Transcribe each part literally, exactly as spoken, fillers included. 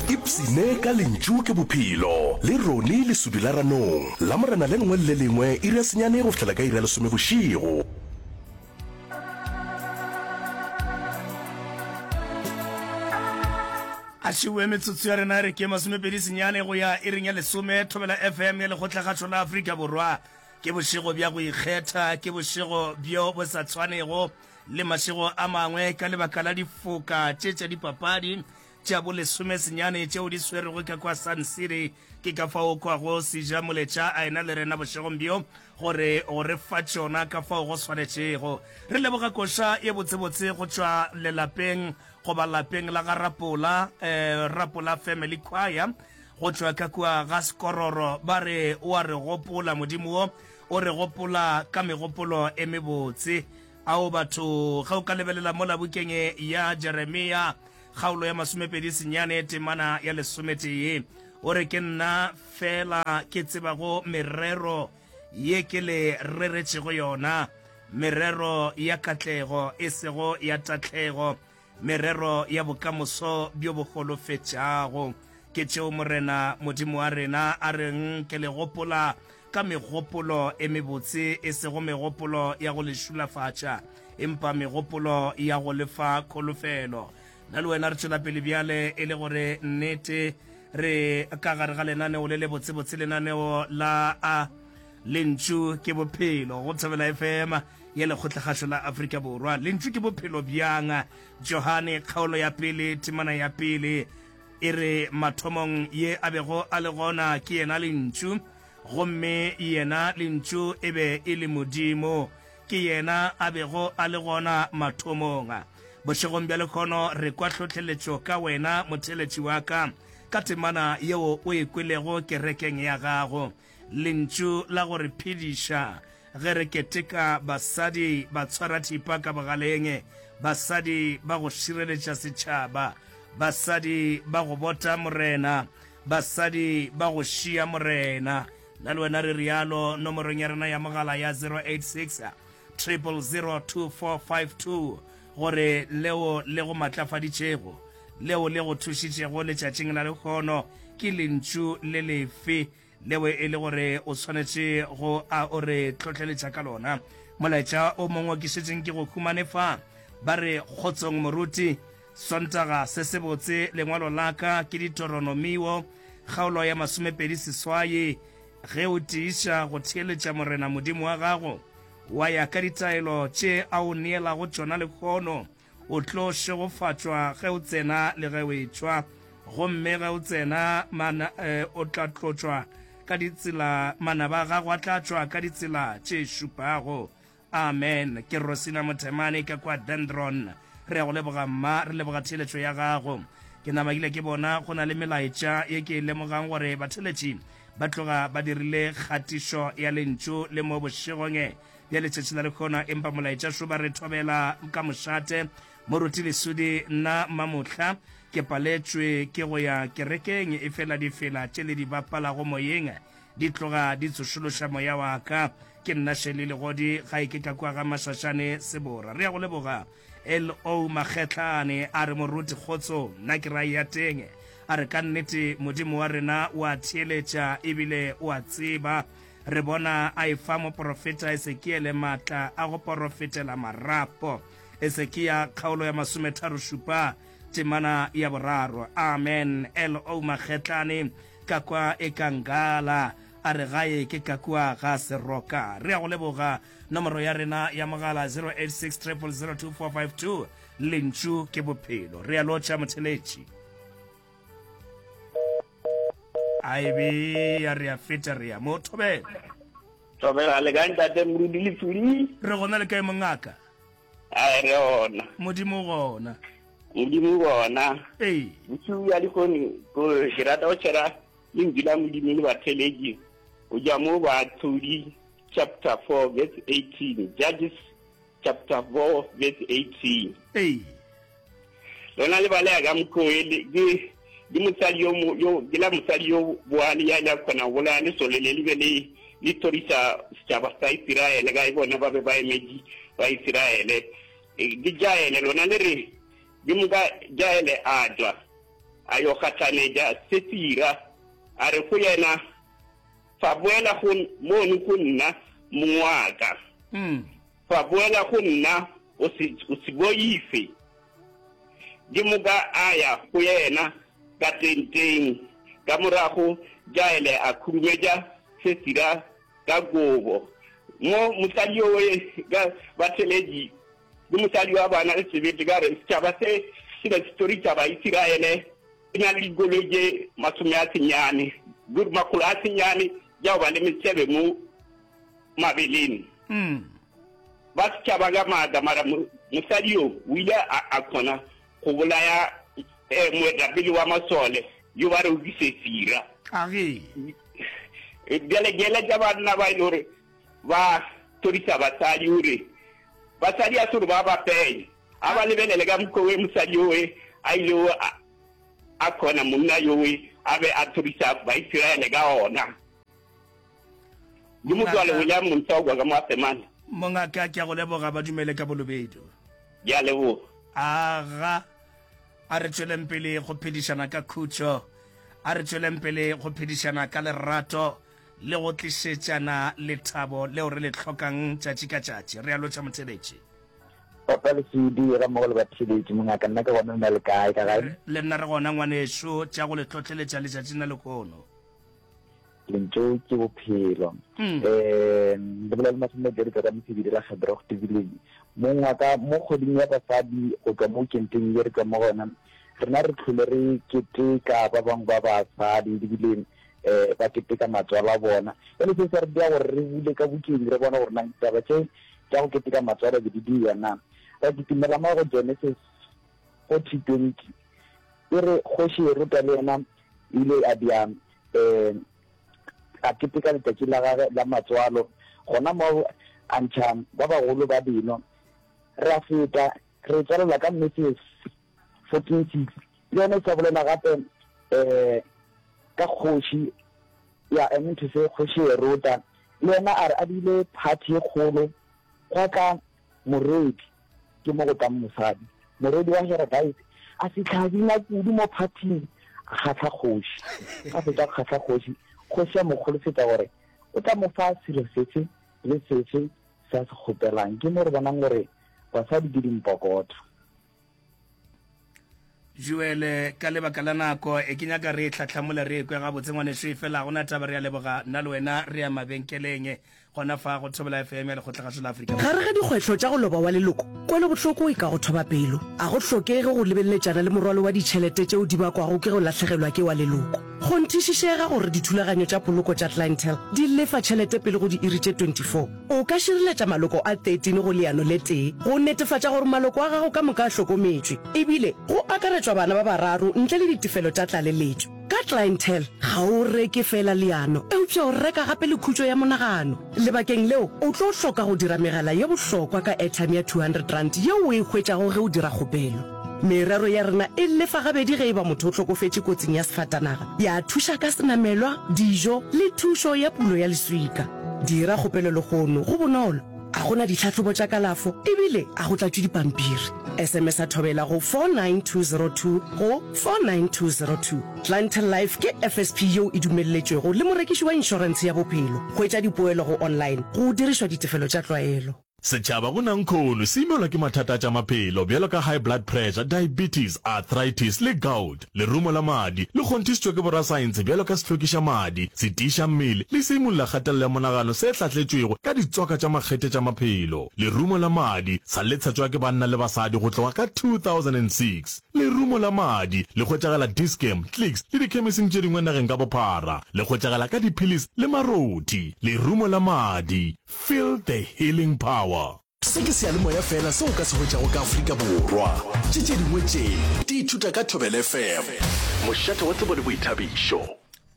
Ipsine ka Lentšu ke Bophelo le Ronnie Lesudi la Ranong, Lamorena le lengwe le le lengwe iri ya senyane go fihlela ka iri ya lesome bošego. A šiwe metsotso ya rena re ke masomepedi senyane go ya iring ya lesome. Thobela F M ya Lekgotlakgašo la Afrika Borwa. Ke bošego bja go ikgetha, ke bošego bjo bo sa tshwanego le mašego a mangwe ka lebaka la difoka tše tša dipapadi tša bolesome senyane tšeo di swerwego ka kwa Sun City. Ke ka fao o kwago Seja Moletša a ena le rena bošegong bjo gore go re fa tšona ka fao go swanetšego. Re leboga koša ye botsebotse go tšwa lelapeng goba lapeng la ga Rapola, eh, Rapola Family Choir go tšwa ka kua ga Sekororo. Ba re o a re gopola Modimo wo, o re gopola ka megopolo e mebotse. Ao batho, ge o ka lebelela mola bukeng ya Jeremia, kgaolo ya masomepedi senyane temana ya lesometee, o re ke nna fela ke tsebago merero ye ke le reretšego yona, merero ya katlego e sego ya tahlego, merero ya bokamoso bjo bo holofetšago. Ke tšeo Morena Modimo wa rena a reng ke le gopola ka megopolo e mebotse, e sego megopolo ya go le šulafatša, empa megopolo ya go le fa kholofelo. Nna le wena re tšwela pele bjale e le gore nnete re ka gare ga lenaneo le le botsebotse, lenaneo la a Lentšu ke Bophelo go Thobela F M ya Lekgotlakgašo la Afrika Borwa. Lentšu ke bophelo bjang? Johane kgaolo ya pele temana ya pele e re, Mathomong ye a bego a le gona ke yena Lentšu, gomme yena Lentšu e be e le Modimo. Ke yena a bego a le gona mathomong. Bošegong bja lehono re kwa hlohleletšo ka wena motheeletši wa ka, ka temana yeo o e kwelego kerekeng ya gago. Lentšu la go re phediša ge re keteka basadi ba tshwara thipa ka bogaleng, basadi ba go šireletša setšhaba, basadi ba go bota Morena, basadi ba go šia Morena. Nna le wena re rialo nomorong ya rena ya mogala ya zero eight six triple zero two four five two gore leo le go matlafaditšego, leo le go thušitšego letšatšing la lehono ke lentšu le lefe leo e le gore o swanetše go a o re hlohleletša ka lona. Molaetša o mongwe ke šetšeng ke go humane fa, ba re, Kgotsong moruti, Sontaga se sebotse, lengwalo la ka ke Ditoronomio, kgaolo ya masomepedi seswai. Ge o tiiša go theeletša Morena Modimo wa gago, wa ya ka ditaelo tše a o neelago tšona lehono, o tlo šegofatšwa ge o tsena le ge o etšwa. Gomme ge o tsena, mana, eh, o tla tlotšwa ka ditsela, manaba a gago a tla tšwa ka ditsela tše šupago. Amen. Ke Rosina Mothemane ka kwa Dendron. Re a go leboga, mma. Re leboga theeletšo ya gago. Ke namakile ke bona go na le melaetša ye ke e lemogang gore batheeletši ba tloga ba dirile kgatišo ya lentšu le mo bošegong bja letšatši la lehono, empa molaetša šo ba re thobela ka mošate. Moruti Lesudi, nna Mamohla ke paletšwe ke go ya kerekeng, efela difela tše le di bapalago moyeng di tloga di tsošološa moya wa ka. Ke nna Shirley Legodi, gae ke ka kua ga Mašašane, Sebora. Re a go leboga. L O Makgetlane a re, Moruti kgotso, nna ke ra ya teng. A re, ka nnete Modimo wa rena o a theeletša ebile o a tseba. Re bona a efa moporofeta Esekiele maatla a go porofetela marapo. Esekia kgaolo ya masometharo-šupa temana ya boraro. Amen. L O Makgetlane ka kwa e ka ngala a re gae ke ka kua ga Seroka. Re a go leboga. Nomoro ya rena ya mogala zero eight six triple zero two four five two. Lentšu ke bophelo. Re a lotšha motheletši. A e be ya re a feta re ya mo thobela. Thobela le kae ntate Moruti Lefuli? Re gona le kae mongaka? A re gona. Modimo gona. Modimo gona. Ee. Bosigo bja lehono ko ke rata go tšhera lentšu la Modimo le batheletši go tšwa mo Baahlodi chapter four verse eighteen, Judges chapter four verse eighteen. Ee. Lona le baleya ka mokgwa o le ke ke mosadi yo yo ke la mosadi yo boale ya ile a kgona go bolaya lesole le le be le le thorisa setšhaba sa Isiraele ka e bona ba be ba emetše ba Isiraele. Ke Jaele lona le re ke moka Jaele a tšwa a yo gahlanetša Sisera, a re go yena, Fa boela go mono go nna, mong wa ka. Fa boela go nna, o se, o se boife. Ke moka a ya go yena ka tenteng. Ka morago Jaele a khurumetša Sisera ka kobo. Mo mosadi yowe ka batheletši ke mosadi wa bana le sebete ka re setšhaba se se be se toriša Baisiraele se na le dikoloi tše masome a senyane, makgolo a senyane tša go ba le mesebe mo mabeleng. Ba setšhaba ka maatla, mara mosadi yo o ile a kgona go bolaya moetapele wa masole yo ba rego ke Sesira. Bjale ke eletša banna ba e le gore ba toriša basadi gore basadi a se gore ba ba fenye, a ba lebelele ka mokgwa we mosadi yowe a ilego a kgona monna yowe a be a toriša Baisiraele ka ona. Ke motswalo William Montsogwa ka mo Asemane. Mongaka, ke a go leboga, ba dumele ka bolobedu. Ke a leboga. Aga, a re tšweleng pele go phedišana ka khutšo. A re tšweleng pele go phedišana ka lerato le go tlišetšana lethabo leo re le hlokang tšatši ka tšatši. Re a lotšha motheeletši. Papa Lesudi, gammogo le batheeletši, mongaka, nna ke gona, lena le kae ka gae? Le nna re gona, ngwanešu, tša go le hlohleletša letšatšing la lehono. Lentšu ke bophelo. Um le bolela le masomepedi tšwa ka Mosebedi la Gedrocht Village. Mong wa ka, mo kgweding ya basadi go tšwa mo kenteng ye re tšwa mo go yona, rena re hlole re keteka ba bangwe ba basadi ebile um ba keteka matswalo a bona. Bjale se se re dira gore re bule ka bukeng re bone gore na ditaba tše tša go keteka matswalo be di dira na. Ra kitimela mo go Genesis forty twenty e re kgoši Heroda le yena ile a bja um a keteka letšatši la gagwe la matswalo, gona moo a ntšha ba bagolo ba dino. Re a feta, re e tswalela ka Matthews fourteen six, le yona e sa bolela gape um ka kgoši ya, I mean to say kgoši Heroda, le yena a re a bile phathi e kgolo, gwa tla morwedi, ke mo go tlang mosadi, morwedi wa Herodite, a fihla a bina kudu mo phathing, a kgahla kgoši. A fetša go kgahla kgoši, kgoši ya mo kgolosetša gore o tla mo fa selo sefe le sefe se a se kgopelang. Ke mo re bonang gore basadi ke dimpokotho. Joel, ka lebaka la nako, e ke nyaka re e hlahlamole re e kwe gabotse ngwanešu, efela ga go na taba, re a leboga, nna le wena re ya mabenkeleng gona fa go Thobela F M ya Lekgotlagašo la Afrika Gare ga dikgwehlo tša go loba wa leloko, kwelobohloko e ka go thoba pelo. A go hlokege go lebeleletšana le morwalo wa ditšhelete tšeo di bakwago ke go lahlegelwa ke wa leloko. Kgonthišišega gore dithulaganyo tša poloko tša Clientele di lefa tšhelete pele go diiri tše twenty four. O ka šireletša maloko a thirteen go leano le tee go netefatša gore maloko a gago ka moka a hlokometšwe, e bile go akaretšwa bana ba bararo ntle le ditefelo tša tlaleletšo. Ka Clientele, ga o reke feela leano, eupša o reka gape le khutšo ya monagano. Lebakeng leo, o tlo hloka go dira megala ye bohlokwa ka airtime ya two hundred rand yeo o e hwetšago ge o dira kgopelo. Merero ya rena e lefa gabedi ge e ba motho o hlokofetše kotsing ya sefatanaga, ya thuša ka senamelwa, dijo le thušo ya pulo ya leswika. Dira kgopelo lehono, go bonolo, a go na ditlhahlobo tša kalafo e bile a go tlatšwe dipampiri. S M S a Thobela go four nine two zero two go four nine two zero two. Clientele Life ke F S P yeo e dumelletšwego le morekiši wa inšorentshe ya bophelo. Hwetša dipoelo go online go dirišwa ditefelo tša tlwaelo. Setšhaba go nankhono se imelwa ke mathata a tša maphelo bjalo ka high blood pressure, diabetes, arthritis le gout. Lerumo la madi le kgonthišitšwe ke borasaense bjalo ka sehlwekiša madi, setiiša mmele le seimolla kgatelelo ya monagano se hlahletšwego ka ditswaka tša makgethe tša maphelo. Lerumo la madi sa le tshetšwa ke banna le basadi go tloga ka two thousand and six Lerumo la madi le hwetšagala Dis-Chem, Clicks le dikhemising tše dingwe nageng ka bophara. Le hwetšagala ka diphilisi le marothi. Lerumo la madi. Feel the healing power. Se ke seyalemoya feela seo o ka se hwetšago ka Afrika Borwa. Tše tše dingwe tše di ithuta ka Thobela F M. Mošate wa tsebo le boithabišo.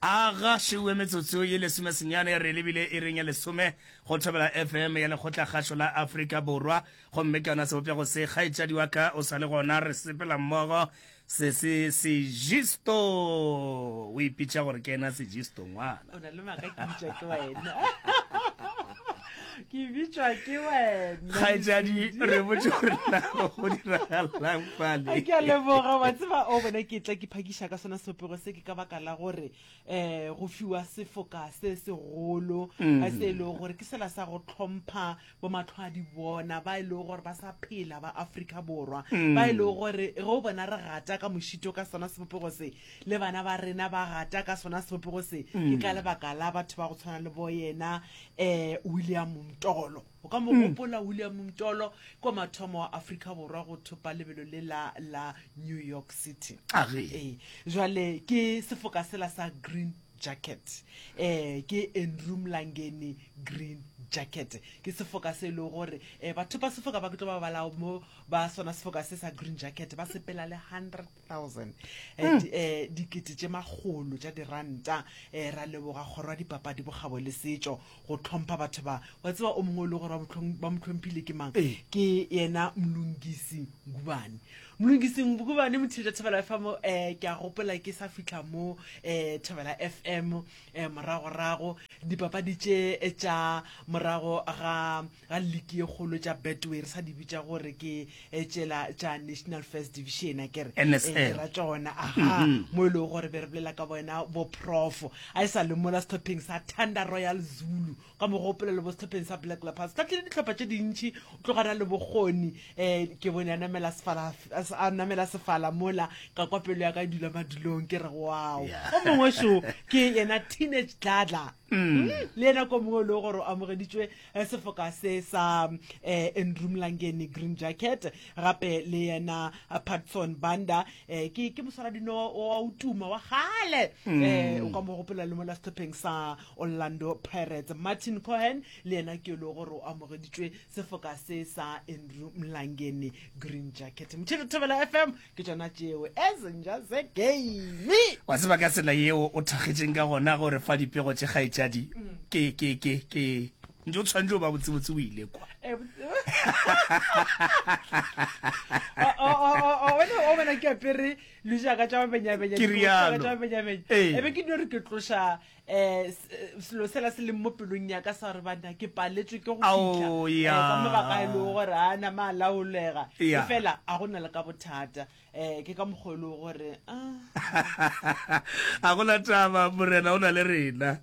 A ga šeuwe metsotso ye lesomesenyane re lebile iring ya lesome go Thobela F M ya Lekgotlakgašo la Afrika Borwa. Gomme ka yona sebopego se, kgaetšadi wa ka o sa le gona, re sepela mmogo. Se se Sejisto o ipitša gore ke yena Sejisto ngwana. O na le maaka ke bitšwa ke wena. Ke bitšwa ke wena. Kgaetšadi, re botše gore na go diragalang fale. Ke a leboga, wa tseba o bona ke tla ke phakiša ka sona sebopego se ke ka baka la gore um go fiwa sefoka se segolo mm. se e lego gore ke sela sa go tlhompha bo matlho a di bona ba e lego gore ba sa phela ba Afrika Borwa mm. ba e lego gore ge o bona re gata ka mošito ka sona sebopego se le bana ba rena ba gata ka sona sebopego se mm. ke ka lebaka la batho ba go tshwana le bo yena um William Mtolo. O ka mo gopola William Mtolo ke wa mathomo wa Afrika Borwa go thopa lebelo le la la New York City. Age. Ee, jwale ke sefoka sela sa Green Jacket. Eh, ke Andrew Mlangeni Green Jacket. Ke sefoka se e lego gore eh, batho ba sefoka ba ke tlo ba bala mo ba sona sefoka se sa Green Jacket ba sepela le hundred thousand eh, di, eh, dikete tše makgolo tša diranta. Eh, ra leboga kgoro ya dipapadi, bokgabo le setšo go hlompha batho ba. Wa tseba o mongwe o le gore ba mo hlomphile ke mang? Ee. Ke yena Mlungisi Ngubane. Mlungisi Ngubane motheetša Thobela F M, eh, ke a gopola ke sa fihla mo, eh, Thobela F M, eh, moragorago dipapadi tše tša morago ga, ga liki ye kgolo tša Betway re sa di bitša gore ke tšela tša National First Division, a ke re? N S L. Eh, ke ra tšona, aha, mo e lego gore be re bolela ka bona bo prof a e sa le mola sehlopheng sa Thunder Royal Zulu, ka mo gopola le bo sehlopheng sa Black Leopards. Hlahlile dihlopha tše dintši, o tlogana le bokgoni, eh, ke bone a namela sefala, a namela sefala mola, ka kwa pelo ya ka e dula madulong, ke re wow. Yeah. O mongwe šo ke yena Teenage Dladla. Mm. Le yena ko mongwe o le gore o amogeditšwe, eh, sefoka se sa, eh, Andrew Mlangeni Green Jacket, gape le yena, eh, Patson Banda, eh, ke, ke moswaradino wa o tuma wa kgale. Mm. Eh, o ka mo gopola le mola sehlopheng sa Orlando Pirates. Martin Cohen le yena ke le gore o amogeditšwe sefoka se sa Andrew Mlangeni Green Jacket. Motšhelo Thobela F M ke tšona tšeo ezinja ze game. Wa tseba ka tsela yeo o thakgetšeng ka gona gore fa dipego tše kgaetšadi ke, ke, ke, ke ntse o tshwanetse o ba botsebotse o ile kwa. Eh, o, o, o, o, o, wena o bona ke apere lejaka tša mabenyabenya, Ke dikobo rialo. tša mabenyabenya. Ee. E be ke no re ke tloša, eh, s-, eh, selo sela se leng mo pelong ya ka sa gore banna ke paletswe ke go Ao, fihla, eh, ya. ka mabaka a e lego gore a nama a laolega. Ya. Efela a go na le ka bothata. Eh, ke ka mokgwa o e lego gore, ah. A gona taba, morena o na le rena.